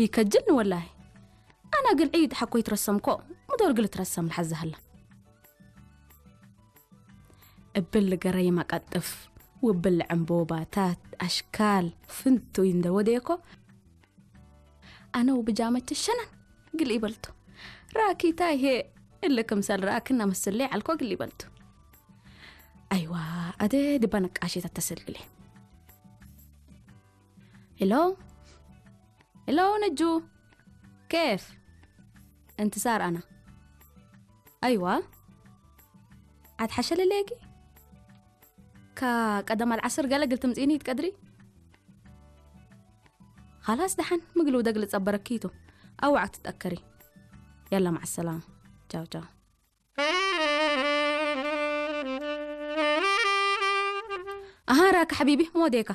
ይከጅልኒ ወላሂ። ኣና ግልዒ ሓኮይ ትረሰምኮ፣ ምዶር ግል ትረሰም ልሓዝሃላ። እብል ገረይ ማቀጥፍ፣ ውብል ዕምቦባታት፣ ኣሽካል፣ ፍንቱይ እንደ ወደየኮ፣ ኣነ ውብጃመች ሸነን ግል ይበልቱ። ራኪታ ይሄ እለ ክምሰል ራክና መስለ ዓልኮ ግል ይበልቱ። ኣይዋ፣ ኣደ ድባ ነቃሽት ኣተሰልግሌ። ሄሎ፣ ሄሎ ነጁ፣ ኬፍ? እንት ሳር ኣና። ኣይዋ፣ ኣትሓሸለለየኪ? ካ ቀደም ኣልዓስር ገለ ግል ትምጽኢኒ ይትቀድሪ? ኻላስ ደሓን ምግሉ ደግል ጸበረኪ ይቱ። ኣዋዕ ትጠከሪ። ያላ መዓ ሰላም። ቻው ቻው። ኣሃ ራካ ሓቢቢ፣ ሞዴካ።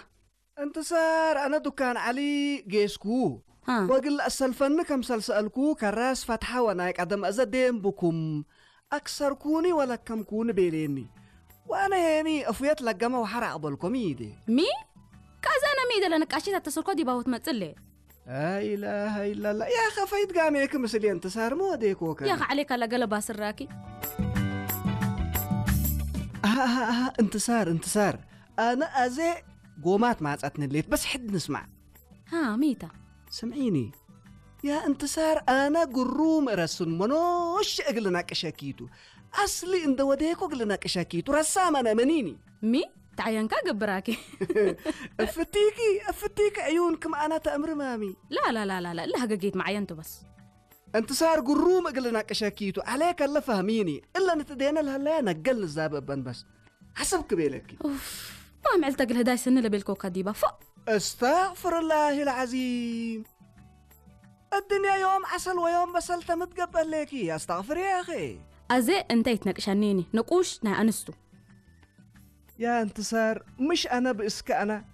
እንት ሳር ኣነ ዱካን ዓሊ ጌስኩ። ሃ። ወግል ኣሰልፈኒ ከም ሰልሰልኩ ከራስ ፈትሓ ወናይ ቀደም እዘ ደም ብኩም ኣክሰርኩኒ ወለከምኩኒ ቤሌኒ። ዋነ ሄኒ እፉየት ለገመ ወሓራ ኣቕበልኮም ይዴ። ሚ? ካዛ ነሚ ደለ ንቃሽት ኣተሰርኮ ዲባውት መጽሌ። لا إله إلا الله. يا خفيت قاميك مسلي انتصار مو ديكوكا. يا خ عليك لا قلب سراكي. آه، آه، آه، انتصار، انتصار. أنا أزي قومات ما عطتني الليت، بس حد نسمع. ها، ميتا. سمعيني. يا انتصار، أنا قروم رسن منوش أقلنا كشاكيتو. أصلي إن دوديكو أقلنا كشاكيتو. رسام أنا منيني. مي؟ تعينكا قبراكي. افتيكي، افتيكي عيونكم أنا تأمر مامي. لا، لا، لا، لا، لا، لا، هقا جيت معي أنتو بس. انتصار قروم أقلنا كشاكيتو. عليك الله فهميني. إلا نتدينا لهلا نقل الزابب بس. حسب كبيلك. أوف. ما عملت أقل هداي سنة لبيلكو كديبة. فو. استغفر الله العظيم. الدنيا يوم عسل ويوم بسل تمتقبل ليكي. استغفر يا أخي. أزي أنت يتناقشانيني. نقوش نا أنستو. يا انتصار، مش أنا بإسك أنا.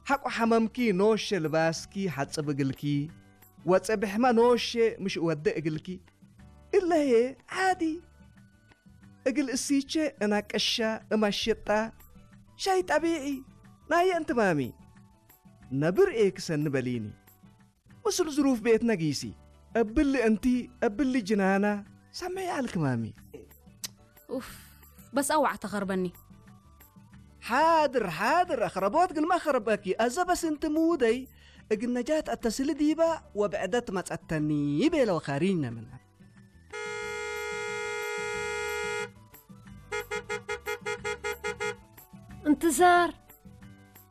حق حمامكي نوش لباسكي حتى بقلكي. وتبحما نوش مش ودق قلكي. إلا هي عادي. እግል እሲቼ እናቀሻ እማሽጣ ሻይ ጠቢዒ ናየ እንትማሚ ነብር ኤ ክሰኒ በሊኒ። ምስል ዝሩፍ ቤት ነጊሲ እብሊ እንቲ እብሊ ጅናና ሰመይ ኣልክማሚ። ኡፍ፣ በስ ኣዋዕ ተኸርበኒ። ሓድር፣ ሓድር፣ ኣኽረቦት ግልማ ኸርበኪ። ኣዘ በስ እንቲ ምውደይ እግል ነጃት ኣተስሊ ዲባ ወብዕደት መጸተኒ ቤለ ወኻሪጅነ ምና። انتصار،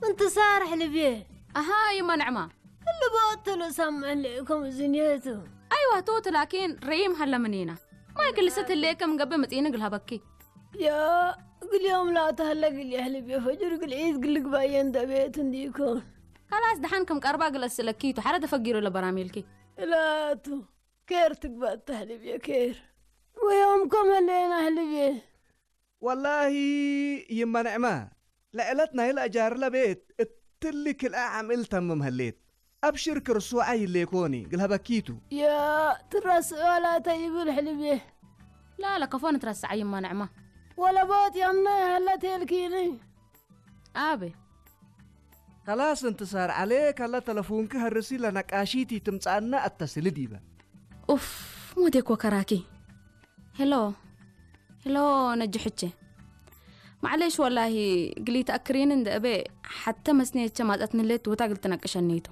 انتصار حلبي. أها يما نعمة. اللي بقتله سامع لكم زنيته. أيوة توت، لكن ريم هلا منينا. ما يكل ست اللي كم قبل متين قلها بكي. يا، قل يوم لا تهلا قل يا حلبي، فجر قل عيد قل لك باين دبيت نديكم. خلاص دحنكم قربا قل أسلكيتو، حرد فقيرو لبراميلكي. لا تو. ኬር ትግባእ ተህልብ እየ ኬር። ወዮም ከም ህሌና ህልብ እየ። ወላሂ ይመንዕማ፣ ለዕለት ናይ ለእጃርለ ቤት እትሊ ክልኣ ዓምእል ተምም ህሌት። ኣብሽር ክርስዋ ይሌኮኒ፣ ግልሀበኪቱ። ያ ትረስዖ ላተ ይብል ሕልብ እየ። ላ ለከፎን ትረስዓ ይመንዕማ። ወለቦት ያምና ያህለ ቴልኪኒ። ኣበ። ከላስ እንትሳር ዓሌ ከለ ተለፉንኪ ሀርሲ ለነቃሺቲ ትምጻእና ኣተስሊ ዲበ። ኡፍ፣ ሞዴኮ ከራኪ። ሄሎ፣ ሄሎ፣ ነጅ ሕቼ። ማዕሌሽ ወላሂ ግሊ ተኣክሪን እንደ እበ ሓተ መስኔቸ ማጸት ንሌት ውታ ግል ትነቅሸኒቱ።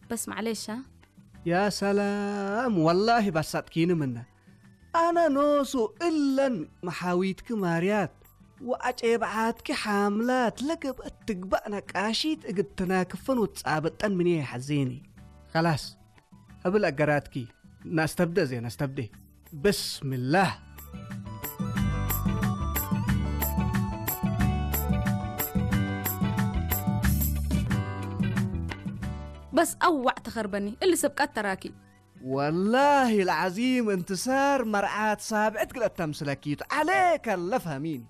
በስ ማዕሌሻ። ያ ሰላም፣ ወላሂ ባሳጥኪኒ ምነ። ኣነ ኖሱ እለን መሓዊትኪ ማርያት ወኣጨብዓትኪ ሓምላት ለገብአት ትግባእ ነቃሺት እግድ ተናክፈን ወትጻበጠን ምንየ ይሓዜኒ። ከላስ፣ እብል ኣገራትኪ፣ ናስተብደ እዜ፣ ናስተብደ። ብስምላህ። በስ ኣዋዕ ተኸርበኒ፣ እሊ ስብቀት ተራኪ። ወላሂ ልዓዚም እንትሳር መርዓት ሳብዕት ግለት ተምስለኪቱ። ዓሌከ ለፈህሚን።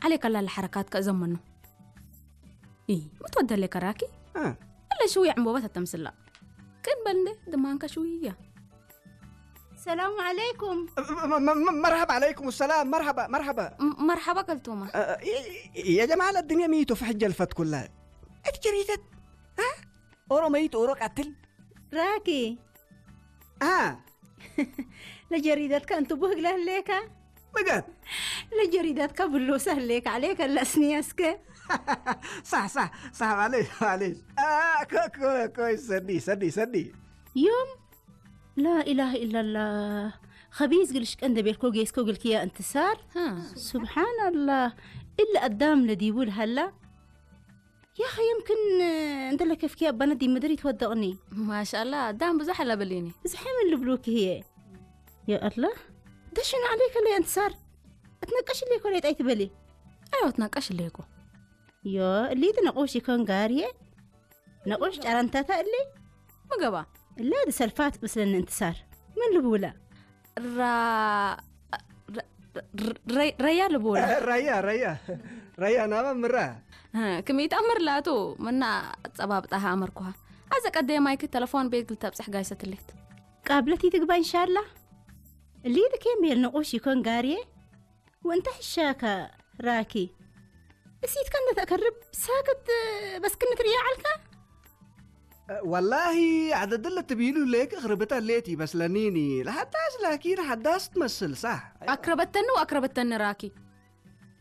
ዓሌከ ላለ ሐረካትከ እዘመኑ። ኢ፣ ምትወደሌ ከራኪ? እ። እለ ሽውያ ዕምቦበት ኣተምስላ። ቅን በል እንዴ፣ ድማንከ ሽውያ። ሰላሙ ዓለይኩም። م-، م-، م-، مرحبا عليكم السلام، مرحبا، مرحبا. م-، مرحبا كلتوما. እ፣ እ፣ እ፣ የጀማል ኣዱንያ ሚቱ ፍሕጀ ልፈት ኩላ። እት ጀሪደት፣ እ? ኦሮ መይት ኦሮ ቀትል። ራኪ፣ ها ለጀሪዳትካ እንት ቡህግላ ህሌካ مقد ለጀሪዳትካ ብሎሳ ህሌካ ዓሌከ ለስኒያ እስከ صح صح صح معليش معليش آه كو كو كويس سدي سدي سدي ዮም ላኢላህ ኢላላህ ኸቢዝ ግልሽ ቀንደ ቤልኮ ጌስኮ ግልክያ እንትሳር ስብሓናላህ እለ ኣዳም ለዲቡ ልሃላ ያኸ የምክን እንደለ ከፍኪያ ባነዲ ምድር ይትወደቕኒ ማሻላ ዳም ብዙሕ ኣለበሊኒ ብዝሐ ምን ልብሉክ ህየ ያ ኣላህ ደሽን ዓለይከ ለይ እንትሳር እትነቀሽ ለይኮ ለይ ጣይ ትበሊ ኣይወ ትነቀሽ ለይኮ ዮ እሊት ነቆሽ ይኮን ጋርየ ነቆሽ ጨረንታታ እሊ ምገባ እላ ሰልፋት ምስለኒ እንትሳር ምን ልብውላ ራ ረ- ረ- ረያ ልብውላ ريا ريا ريا نابا مرة ክመይት ኣምር ላቱ ምና ጸባብጣ ኣመርኩሃ ኣዘ ቀደየ ማይክ ተለፎን ቤት ግልተብጽሕ ጋይሰትሌት ቃብለት ይትግባ እንሻላ እሊት ኬም ቤል ነቆሽ ይኮን ጋርየ ወእንተ ሕሻካ ራኪ እሲትካ እንደተቀርብ ሳክት በስክንት ርያ ዓልካ والله عدد اللي تبيلو ليك خربتها ليتي بس لنيني لحداس لكن حداس تمثل صح ኣክረበተኒ ወኣክረበተኒ ራኪ